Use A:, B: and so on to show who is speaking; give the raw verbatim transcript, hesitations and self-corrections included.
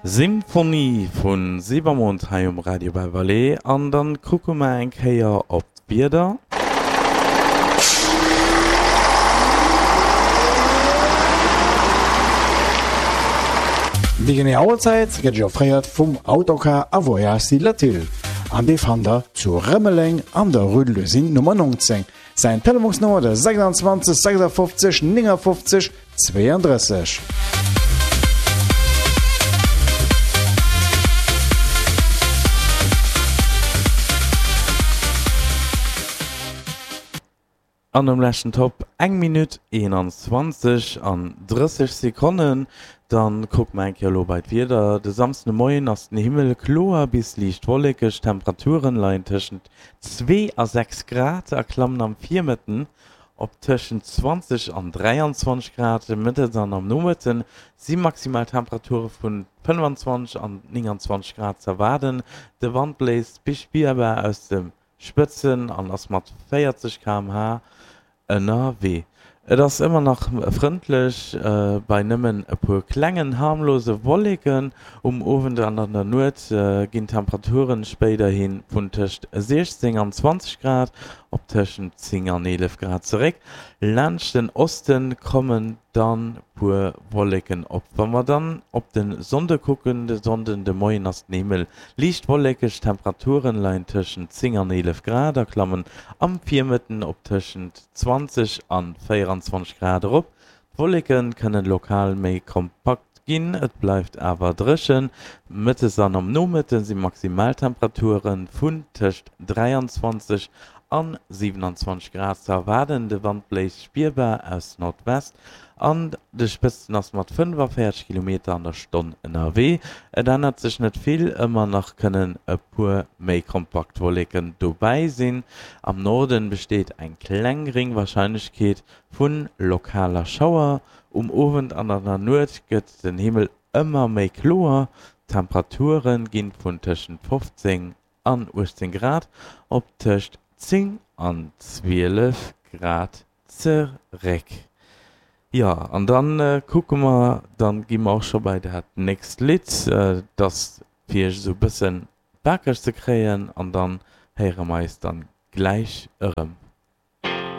A: Symphonie vu Silbermond hei um Radio Belle Vallée an dann kucke mer eng Kéier op d'Wieder.
B: Déi genee Auerzäit gëtt Iech offréiert vum Autocar a Voyages Latil an dee fannt der zu Rëmeleng an der Rue de l'Usine Nummer neunzéng. Säin Telefonsnummer de sechsundzwanzeg sechsundfünfzig neunundfünfzig zweiunddrësseg.
A: An um leschten Top eng Minutt eenanzwanzeg an drësseg Sekonnen. Dann kucke mer eng Kéier elo bei d'Wieder. De Samsden de Moien ass den Himmel kloer bis liicht wollekeg, d'Temperaturen leien tëschent zwee a sechs Grad a klammen am Virmëtten op tëschent zwanzeg an dräianzwanzeg Grad. Mëttes an am Nomëtte si maximal Temperature vun fënnefanzwanzeg an nénganzwanzeg Grad z'erwaarden. De Wand bléist bis spierbar aus de Spëtzen an ass mat véierzeg Kilometer pro Stonn ënnerwee. Et ass ëmmer nach frëndlech bei nëmmen e puer klengen harmlose Wolleken. Um Owend an an der Nuet ginn d'Temperaturen spéiderhi vun tëscht siechzéng an zwanzeg Grad op tëschent zéng an eelef Grad zeréck. Laanscht den Oste kommen dann puer Wolleken op. Wa mer dann op de Sonnde kucken, de Sonnden de Moien ass den Himmel liicht wollekeg, d'Temperaturen leien tëschent zéng an eelef Grad a klammen am Virmëtten op tëschent zwanzeg an véieranzwanzeg Grad erop. D'Wolleke kënnen lokal méi kompakt ginn, et bleift awer dréchen. Mëttes an am Nomëtte si Maximaltemperature vun tëscht dräianzwanzeg an siwenanzwanzeg Grad ze erwaarden. De Wand bléist spierbar aus Nordwest an de Spëtzten ass mat fënnefavéierzeg Kilometer an der Stonn ënnerwee. Et ännert sech net vill, ëmmer nach kënnen e puer méi kompakt Wolleken dobäi sinn. Am Norden besteet eng kleng gréng Warscheinlechkeet vu lokaler Schauer. Um Owend an an der Nuet gëtt den Himmel ëmmer méi kloer, d'Temperature ginn vun tëschent fofzéng an uechtzéng Grad op tëscht zéng an zwielef Grad zeréck. Jo, an dann kucke mer, dann gi mer och scho bei dat nächst Lidd, dass fir iech esou e bëssen wakereg ze kréien, an dann héiere mer eis dann gläich erëm.